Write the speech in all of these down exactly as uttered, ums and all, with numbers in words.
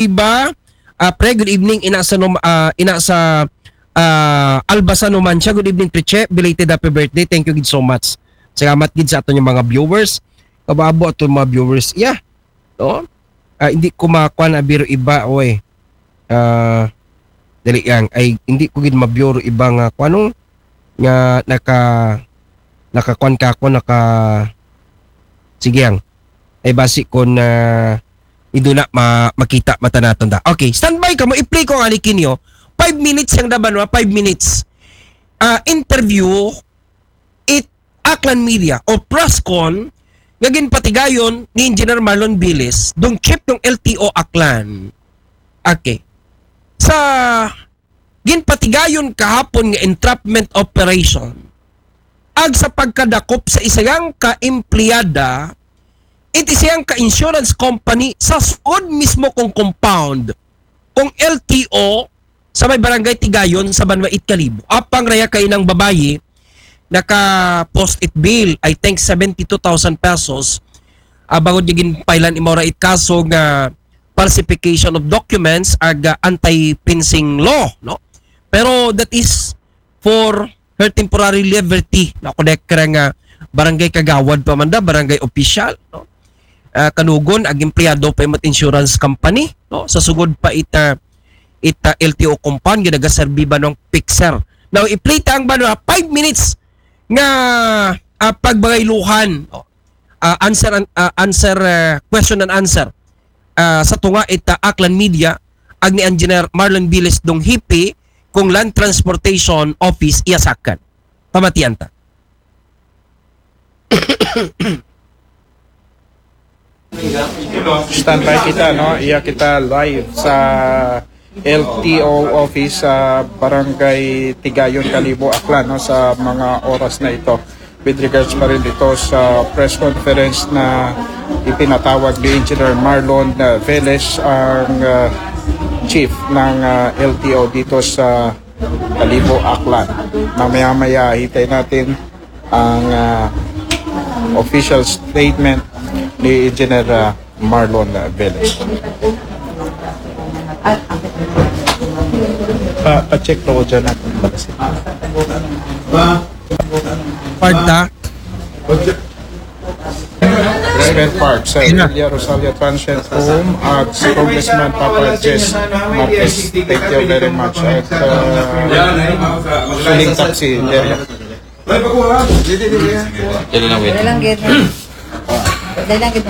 Iba, ah, pre, good evening. Ina sa Num-, ah, ina sa, ah, Alba sa Numancia. Good evening, Triche. Belated happy birthday. Thank you gid so much. Salamat gid sa aton nga mga viewers. Kababo aton mga viewers. Yeah. No? Ah, hindi ko makuha na biro iba, oy. Ah, dali lang. Ay, hindi ko gid mabiro iba nga kuno nga naka, nakakuan ka ako, naka, sige ang. Ay, basi ko na ido na ma-, makita mata naton da. Okay, standby ka mo. I-play ko ang alikin nyo. Five minutes yang daban, wa? Five minutes. Ah, interview it Aklan Media o press con nga ginpatigayon ni Engineer Marlon Viles, dong chief ng L T O Aklan. Okay. Sa ginpatigayon kahapon nga entrapment operation, ag sa pagkadakop sa isayang ka-empleyada, iti siyang ka-insurance company sa sugod mismo kong compound, kong L T O, sa may barangay Tigayon sa Banwa it Kalibo. Apang raya kay nang babayi, naka-post it bail, I think seventy-two thousand pesos. Ah, bangod niya ginpailan imora it kaso nga falsification of documents ag, ah, anti-fencing law, no? Pero that is for her temporary liberty. Ako na kaya nga barangay kagawad pa man da, barangay official, no? Ah, kanugon, ag empleyado pa yung insurance company, no? Sa sugod pa ita, ita L T O compound, ginagaserbi ba ng fixer? Now, i-play ta ang ba na five minutes nga, ah, pagbayluhan, no? Ah, answer and, ah, answer, ah, question and answer. Ah, sa tunga ita Aklan Media, ag ni Engineer Marlon Viles dong hipi kung Land Transportation Office iya sakan. Pamatian ta. Standby kita, no? Iya kita live sa L T O office sa Barangay Tigayon, Kalibo, Aklan, no? Sa mga oras na ito. With regards pa rin dito sa press conference na ipinatawag ni Engineer Marlon, uh, Velez, ang, uh, chief ng, uh, L T O dito sa Kalibo, Aklan. Mamaya-maya, hintay natin ang, ah, official statement ni Engineer, ah, Marlon, ah, Velez. Pa, pa-check ko dyan natin. Part ta. Spare parts, sir. Ina. Villa Rosalia Transient Home at si Congressman Papa Jess Marquez. Thank you very much. At, uh, suling taxi, Jerry. Dali lang, wait. Dali lang, gid. Dali lang, gid.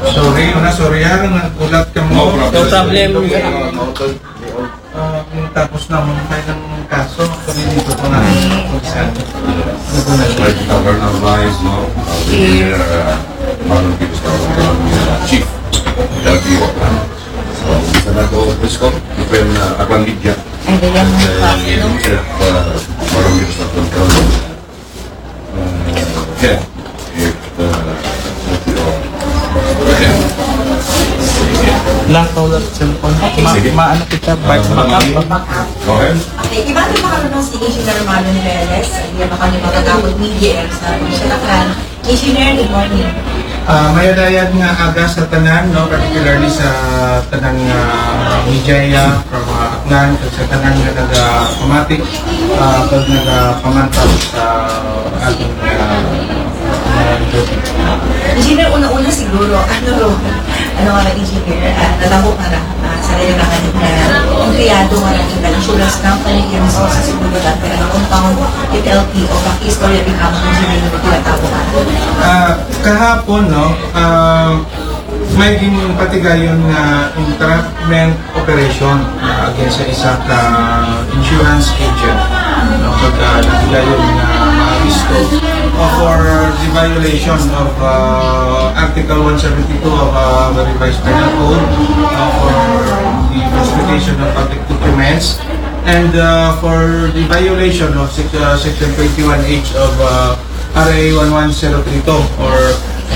Sorry, una, sorry, ah, nagulat ka mo. No problem. Ah, kung tapos na mo tayo ng kaso, actually dito ko na kung saan. Right, our advice, no? Uh, we hear, uh, Marlon Viles, our, uh, chief. L T O. So, isa na to, Prisco, even, uh, Aklan Media. Ay, ganyan mo pa. Uh, Marlon Viles, our, uh, yeah. If, uh, Lang ko lang cellphone. Ma, sige. Maano kita, back, back up, back up. Go ahead. Okay, iba na ba kami si Engineer Marlon Velez? Hindi ba kami matatakot media sa Aklan? Engineer, good morning. Ah, mayad-ayad nga aga sa tanan, no, particularly sa tanan nga media, from, ah, Aklan, sa tanan nga nagapamati, ah, pag nagapamantap sa ating, ah, ah, duty. Engineer, una-una siguro, ano, ano nga, Engineer, ah, natabo ka na, ah, sa kailangan ng, ah, empleyado nga ng insurance company, yung sa, sa siguro dati, ano, compound, it L T O, paki-istorya di ka mo, Engineer, yung tinatabo ka na. Ah, kahapon, no, ah, may ginpatigayon nga entrapment operation, ah, against sa isa ka insurance agent, no, pag, ah, natigayon nga maaresto, uh, for the violation of, uh, Article one seventy-two of, uh, the Revised Penal Code, uh, for the falsification of public documents, and, uh, for the violation of sec-, uh, Section twenty-one H of, uh, R A one one zero three two, or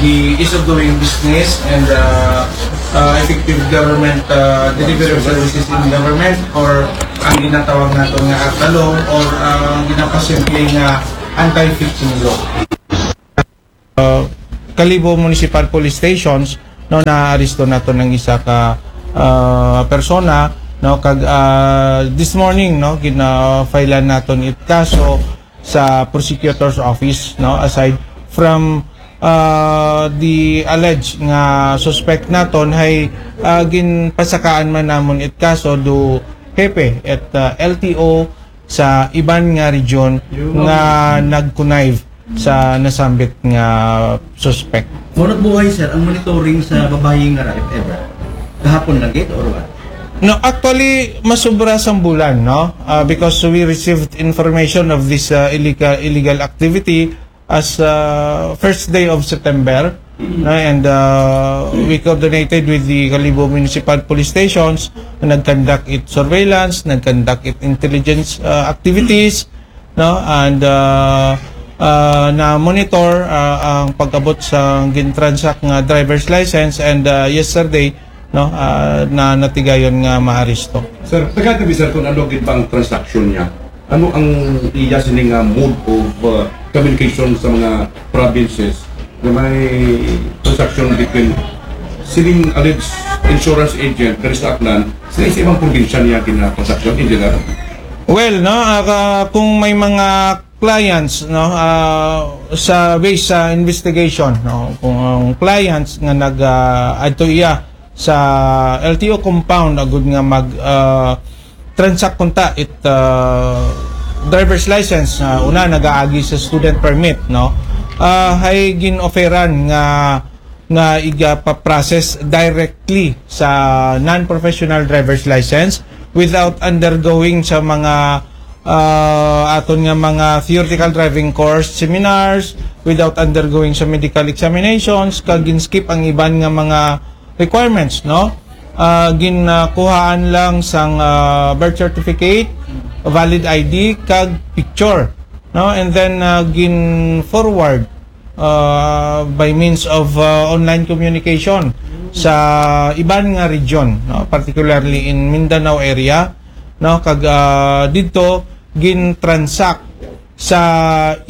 the ease of doing business and, uh, uh, effective government, uh, delivery of services in government, or ang ginatawag nato nga ARCA law, or, uh, ang ginapasimple nga anti-fishing law. Uh, Kalibo Municipal Police Stations, no, naaresto naton ang isa ka, ah, persona, no, kag, ah, this morning, no, gina-filean naton it kaso sa prosecutor's office, no, aside from, ah, the alleged nga suspect naton, hay, ah, ginpasakaan man namon it kaso do hepe at, ah, L T O sa iban nga region nga nag-connive sa nasambit nga suspect. Mao na buhay, sir, ang monitoring sa babayi nga ra, if ever. Kahapon lang gid or what? No, actually, masubra sang bulan, no? Ah, because we received information of this, ah, illegal, illegal activity as, ah, first day of September, no? And, ah, we coordinated with the Kalibo Municipal Police Stations, nag-conduct it surveillance, nag-conduct it intelligence, ah, activities, no? And, ah, ah, na-monitor, ah, ang pag-abot sa gin-transact nga driver's license, and, ah, yesterday, no, ah, na natigayon nga maaresto. Sir, tagaan ta bi, sir, kung ano gid bang transaction niya? Ano ang iya sini nga mode of, uh, communication sa mga provinces na may transaction between sining alleged insurance agent diri sa Aklan, sila sa ibang probinsya niya gina-transaction, engineer? Well, no, ah, ka- kung may mga clients, no, ah, sa base sa investigation, no, kung ang clients nga nag, ah, adto iya sa L T O compound agud nga mag, ah, transact kunta it, ah, driver's license, ah, una nagaagi sa student permit, no, ah, hay gin-offeran nga nga iga-process directly sa non-professional driver's license without undergoing sa mga, ah, aton nga mga theoretical driving course seminars, without undergoing sa medical examinations, kag gin-skip ang iban nga mga requirements, no? Ah, ginkuhaan lang sang, ah, birth certificate, valid I D, kag picture, no? And then, ah, gin-forward, ah, by means of, ah, online communication sa iban nga region, no? Particularly in Mindanao area, no? Kag, ah, didto gin-transact sa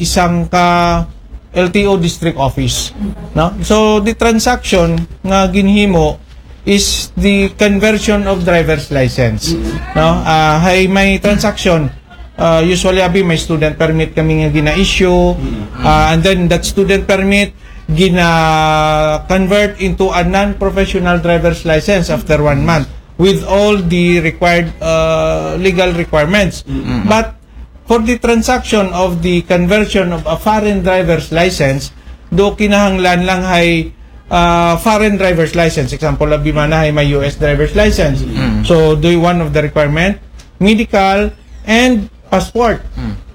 isang ka L T O district office, no? So the transaction nga ginhimo is the conversion of driver's license, no? Ah, hay may transaction, ah, usually abi may student permit kami nga gina-issue, ah, and then that student permit gina-convert into a non-professional driver's license after one month with all the required, ah, legal requirements. But for the transaction of the conversion of a foreign driver's license, do kinahanglan lang hay, ah, foreign driver's license. Example, abi man hay may U S driver's license. So do one of the requirement, medical and passport.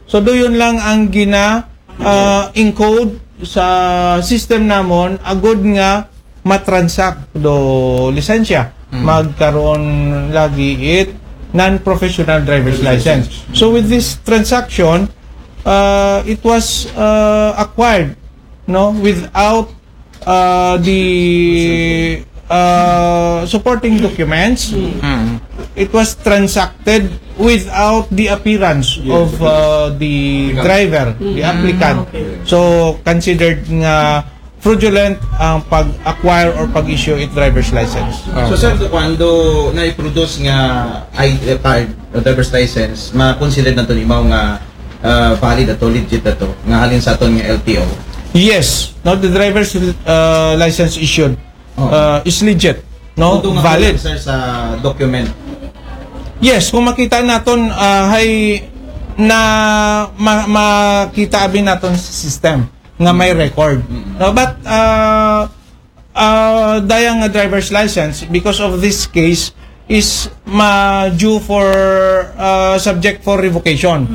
So do yun lang ang gina, ah, encode sa system namon agud nga matransact do lisensya. Magkaroon lagi it non-professional driver's license. So with this transaction, uh, it was, uh, acquired, no, without, uh, the, uh, supporting documents. It was transacted without the appearance of, uh, the driver, the applicant. So considered nga fraudulent ang pag-acquire or pag-issue it driver's license. So, sir, do kuan, do na-produce nga I D card o driver's license, ma-consider nato ni mao nga, ah, valid ato, legit ato, nga halin sa aton nga L T O? Yes, no, the driver's, uh, license issued, Oh. uh, is legit, no, Although nga valid. Kulang, sir, sa document. Yes, kung makita naton, ah, hay na ma- makita abi naton sa system nga may record. No, but, ah, ah, daya nga driver's license, because of this case, is ma due for, ah, subject for revocation,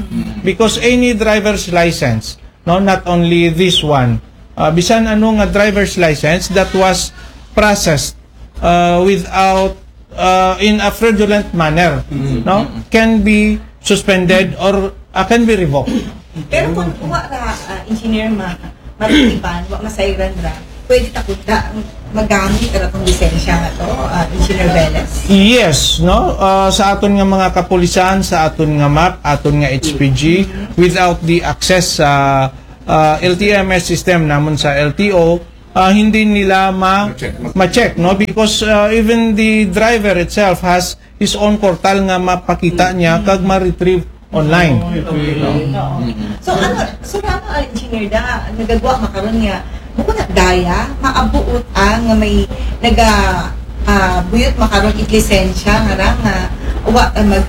because any driver's license, no, not only this one, ah, bisan ano nga driver's license that was processed, ah, without, ah, in a fraudulent manner, no, can be suspended or, ah, can be revoked. Pero kung wa ra, ah, engineer ma matitipan, wa masayran ra, pwede ta kuda magamit ra tong lisensya nga to, ah, Engineer Velez? Yes, no? Ah, sa aton nga mga kapulisan, sa aton nga map, aton nga H P G, without the access sa, ah, L T M S system namon sa L T O, ah, hindi nila ma ma-check, no? Because, ah, even the driver itself has his own portal nga mapakita niya kag ma-retrieve online. Oo. So ano, so ano, ah, Engineer, da, nagagwa makaron nga, bukod na daya, maabuot ang nga may naga ah, buyot makaron it lisensya nga ra nga wa, ah, mag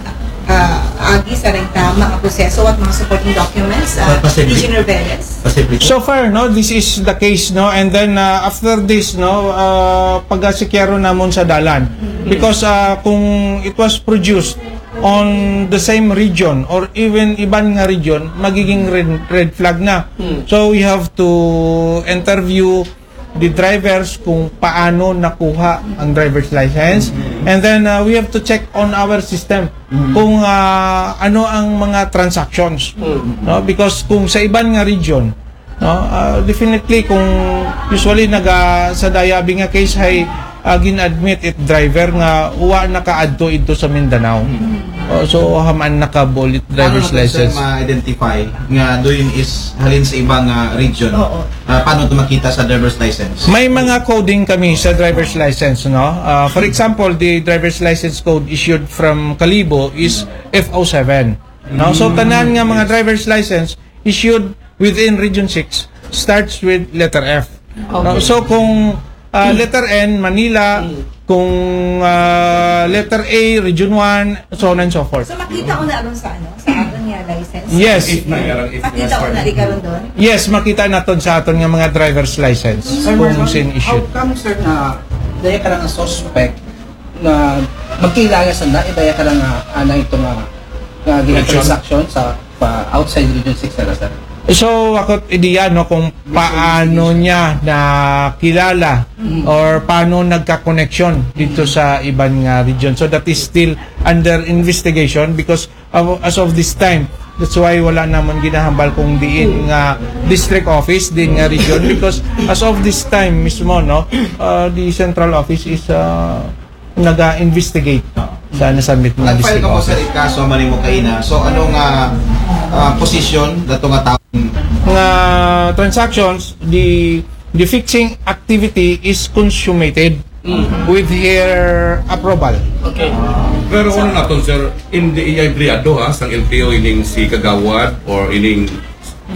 ah, agi sa ray tama nga proseso at mga supporting documents, ah, Pa- posible. Engineer Velez? Posible. So far, no, this is the case, no, and then, uh, after this, no, uh, pagasikyaro namon sa dalan, because, uh, kung it was produced on the same region or even iban nga region, magiging red, red flag na. So we have to interview the drivers kung paano nakuha ang driver's license, and then, uh, we have to check on our system kung, uh, ano ang mga transactions, no, because kung sa iban nga region, no, uh, definitely kung usually naga sa daya abi nga case hay, uh, gin-admit it driver nga wa nakaadto idto sa Mindanao. Oh, so haman nakabuol it driver's Paano natin, sir, license. Ma-identify nga doon is halin sa ibang ah, region? Oo. Ah, paano ito makita sa driver's license? May mga coding kami sa driver's license, no? Uh, for example, the driver's license code issued from Kalibo is F O seven. No? So tanan nga mga driver's license issued within Region six starts with letter F. No? So kung uh, letter N, Manila, kung uh, letter A, Region one, so on and so forth. So makita ko na ron sa ano, sa aton nga license? Yes. Makita ko na di karon doon? Yes, makita naton sa aton nga mga driver's license Sir kung Marlon, sin how issued. Come, sir, na dahil ka nga suspect na magkilala sa na, dahil ka nga anay ito nga, nga ginatransaction sa pa outside Region six na, sir? So, ako ideya, no, kung paano niya nakilala or paano nagka-connection dito sa iban nga region. So that is still under investigation because uh, as of this time, that's why wala naman ginahambal kung diin nga district office, diin nga region, because as of this time mismo, no, uh, the central office is uh, naga-investigate sa nasabit nga Nag-file district ka po sa office. Kaso, mali mo kaina. So, ano nga ah, position na ito nga tao? Nga transactions, the the fixing activity is consummated with her approval. Pero ano naton, sir, hindi iya empleyado ha, sang L T O ining si Kagawad or ining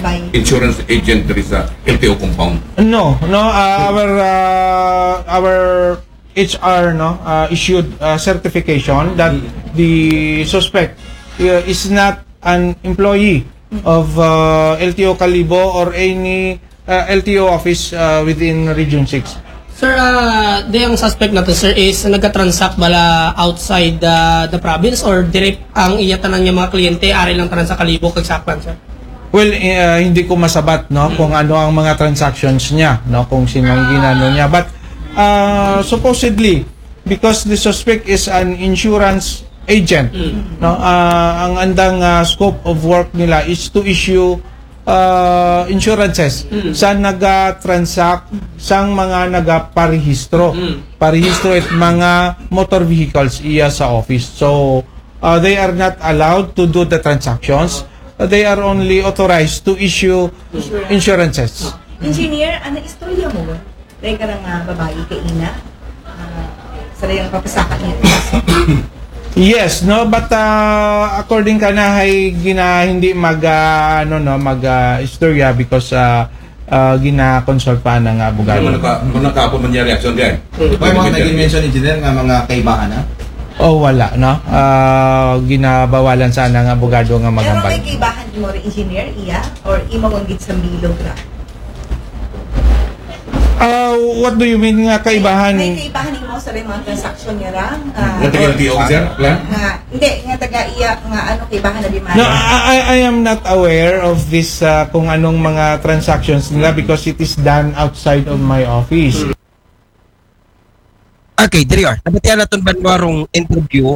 By insurance agent diri sa L T O compound. No, no, uh, our uh, our H R, no, uh, issued uh, certification that the suspect uh, is not an employee of uh, L T O Kalibo or any uh, L T O office uh, within Region six. Sir, ah, di ang suspect natin, sir, is nagka-transact bala outside the, the province or direct ang iya tanan nga mga kliyente, ari lang tanan sa Kalibo kag sa Aklan, sir? Well, eh, uh, hindi ko masabat, no, kung ano ang mga transactions niya, no, kung sino ang ginano niya. But uh, supposedly, because the suspect is an insurance agent, no, uh, ang andang uh, scope of work nila is to issue uh, insurances sa naga-transact sang mga nagaparehistro. Parehistro it mga motor vehicles iya sa office. So uh, they are not allowed to do the transactions. Uh, they are only authorized to issue insurances. Engineer, ano istorya mo? Dahil ka nga babae kaina? Ah, sa dayang papasaka niya. Yes, no, but uh, according ka na hay gina hindi mag uh, ano, no, mag uh, istorya because uh, uh, gina-consult pa na nga Ano abogado. naka, ano naka po man niya reaction diyan? May mga naging mention, engineer, nga mga kaibahan na? Oh, wala, no. Uh, ginabawalan sana nga abogado nga Pero maghambal. May kaibahan mo rin, engineer, iya? Or imo kung gid sa bilog ra? Uh, what do you mean nga kaibahan? May kaibahan mo sa rin mga transaction niya ra? Ah, Nga taga L T O ka, sir? Aklan? Nga, hindi, nga taga iya, nga ano, kaibahan na di man. No, I, I I am not aware of this uh, kung anong mga transactions nila because it is done outside of my office. Okay, diri are. Nabatian naton banwa rong interview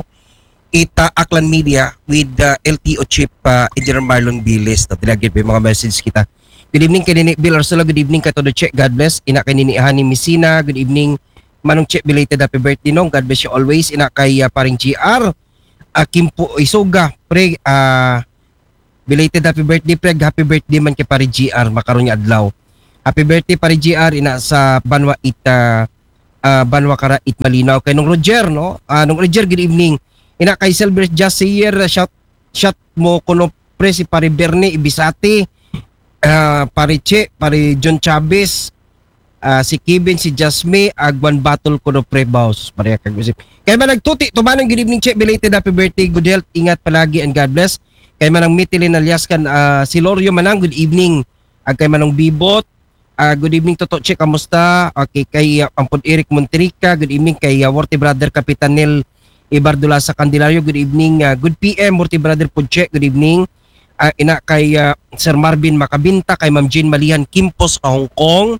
ita Aklan Media with uh, L T O Chief uh, Engineer Marlon Bilis. No? Tinagid pa yung mga message kita. Good evening kay Nini Bill Arcela. Good evening kay Todo Che. God bless. Ina kay Nini Hani Misina. Good evening Manong Che. Belated happy birthday, Nong. God bless you always. Ina kay uh, paring G R. Uh, Kimpo Isoga. Pre, uh, belated happy birthday, pre. Happy birthday man kay pare G R. Makaroon niya adlaw. Happy birthday, pare G R, ina sa banwa it, ah, ah, banwa kara it Malinaw. Kay Nong Roger, no? Ah, Nong Roger, good evening. Ina kay Silver Jasier, ah, shout, shout mo kuno, pre, si pare Bernie Ibisati, ah, pare Che, pare John Chavez, ah, si Kevin, si Jasmine, agwan battle kuno, pre, boss. Pare, kag usip. Kay Manang Tuti Tumanon, good evening, Che. Belated happy birthday, good health, ingat palagi, and God bless. Kay Manang Mitilin Alyaskan, ah, si Lorio Manang, good evening. Ag kay Manong Bibot, ah, good evening, Toto Che, kamusta? Okay, kay, ah, Ampod Eric Monterica, good evening. Kay, ah, Worthy Brother Kapitan Nel Ibardulasa Candelario, good evening. Ah, good P M, Worthy Brother Pudche, good evening. Ah, ina kay, ah, Sir Marvin Makabinta, kay Ma'am Jean Malihan Kimpos, ah, Hong Kong.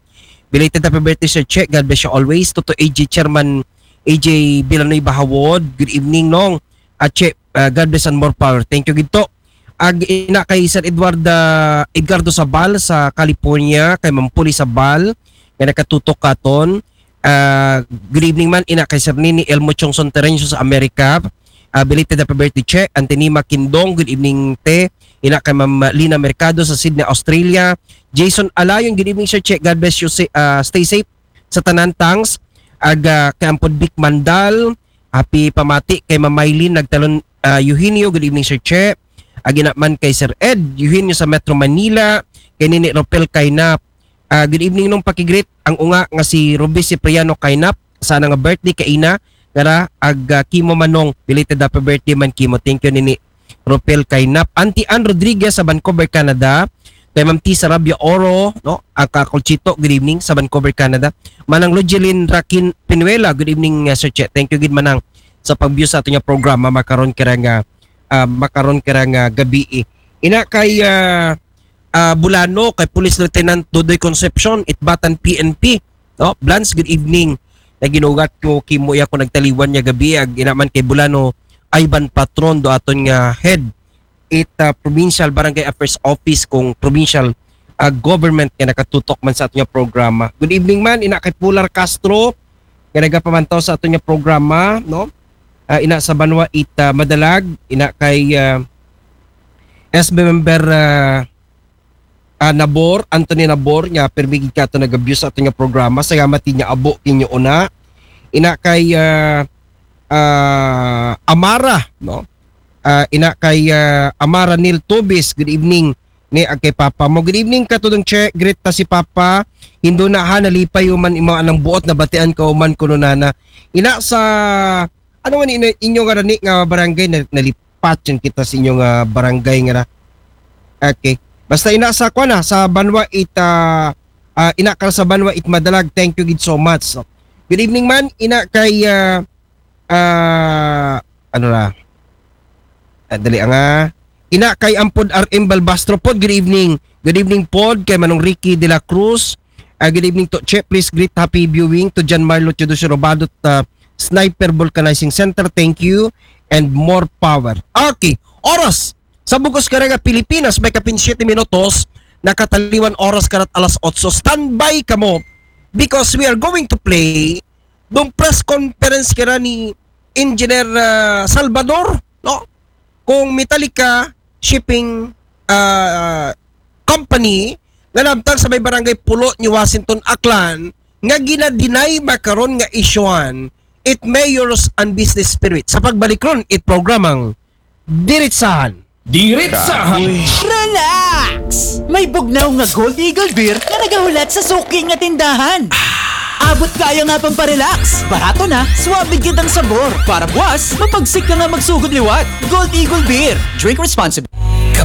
Belated happy birthday, Sir Che. God bless you always. Toto A J Chairman A J Villanueva Hawod, good evening, Nong. Ah, Che, ah, God bless and more power. Thank you gid to. Ag ina kay Sir Edward, ah, Edgardo Sabal sa California, kay Ma'am Puli Sabal, nga nakatutok katon. Ah, good evening man, ina kay Sir Nini Elmo Chongson Terencio sa Amerika. Ah, belated happy birthday, Che. Antenima Kindong, good evening, Te. Ina kay Ma'am Lina Mercado sa Sydney, Australia. Jason Alayon, good evening, Sir Che. God bless you. Sa-, ah, stay safe sa tanan, thanks. Ag, ah, kay Ampod Vic Mandal, happy pamati kay Ma'am Mylene Nagtalon, ah, Eugenio, good evening, Sir Che. Ag ina man kay Sir Ed Eugenio sa Metro Manila, kay Nini Ropel Kainap. Ah, good evening, Nong, pakigreet ang unga nga si Ruby Cipriano Kainap, sana nga birthday kay ina, kara, ag, ah, Kimo Manong, belated happy birthday man, Kimo. Thank you, Nini Ropel Kainap. Auntie Ann Rodriguez sa Vancouver, Canada. Kay Ma'am T Sarabia Oro, no? Aka Colchito, good evening sa Vancouver, Canada. Manang Logeline Rakin Pinuela, good evening, uh, Sir Che. Thank you gid, Manang, sa pag-view sa ato nga programa makaron kira nga, ah, makaron kira nga gabii. Ina kay, ah, ah, Bulano, kay Police Lieutenant Dodoy Concepcion, Itbatan P N P, no? Blans, good evening. Naginugat ko, Kimo, iya ko nagtaliwan niya gabii, ag ina man kay Bulano, Ivan Patron, do aton nga head it, ah, Provincial Barangay Affairs Office kung provincial, ah, government nga nakatutok man sa aton nga programa. Good evening man, ina kay Pular Castro, nga nagapamantaw sa aton nga programa, no? Ah, ina sa banwa it, ah, Madalag, ina kay, ah, S B member, ah, ah, Nabor, Anthony Nabor, nga pirmi gid kato nag-view sa aton nga programa. Salamat niya, abo, kinyo una. Ina kay, ah, ah, Amara, no? Ah, ina kay, ah, Amara Neil Tubis, good evening. Ni ag kay Papa mo. Good evening, katudong Che, greet ta si Papa. Hindo na ha, nalipay uman imo anang buot, nabatian ka uman kuno nana. Ina sa, ano man ina, inyo nga rani nga barangay na, nalipat yan kita sa inyo nga barangay nga na. Okay. Basta ina sa, kuan na, sa banwa it, ah, ah, ina ka sa banwa it Madalag. Thank you gid so much. So, good evening man, ina kay, ah, ah, ano na? Ah, dali, ang, ah, ina kay Ampod R M Balbastro pod, good evening. Good evening pod kay Manong Ricky de la Cruz. Ah, good evening to Che. Please greet happy viewing to John Marlo Teodosio Robado, uh, Sniper Vulcanizing Center. Thank you and more power. Okay, oras sa bugos karega Pilipinas, may kapin siyete minutos, nakataliwan oras karat alas otso. Standby kamo because we are going to play dong press conference kira ni Engineer, ah, Salvador, no? Kung Metallica Shipping, ah, Company, nga nabtang sa may barangay Pulo ni Washington, Aklan, nga gina-deny makaron nga isyuhan it mayor's unbusiness spirit. Sa pagbalik ron, it programang Diritsahan. Diritsahan. Relax! May bugnaw nga Gold Eagle Beer nga nagahulat sa suki nga tindahan. Abot kaya nga pamparelax. Barato na, swabe gid ang sabor. Para buwas, mapagsik ka nga magsugod liwat. Gold Eagle Beer. Drink responsibly.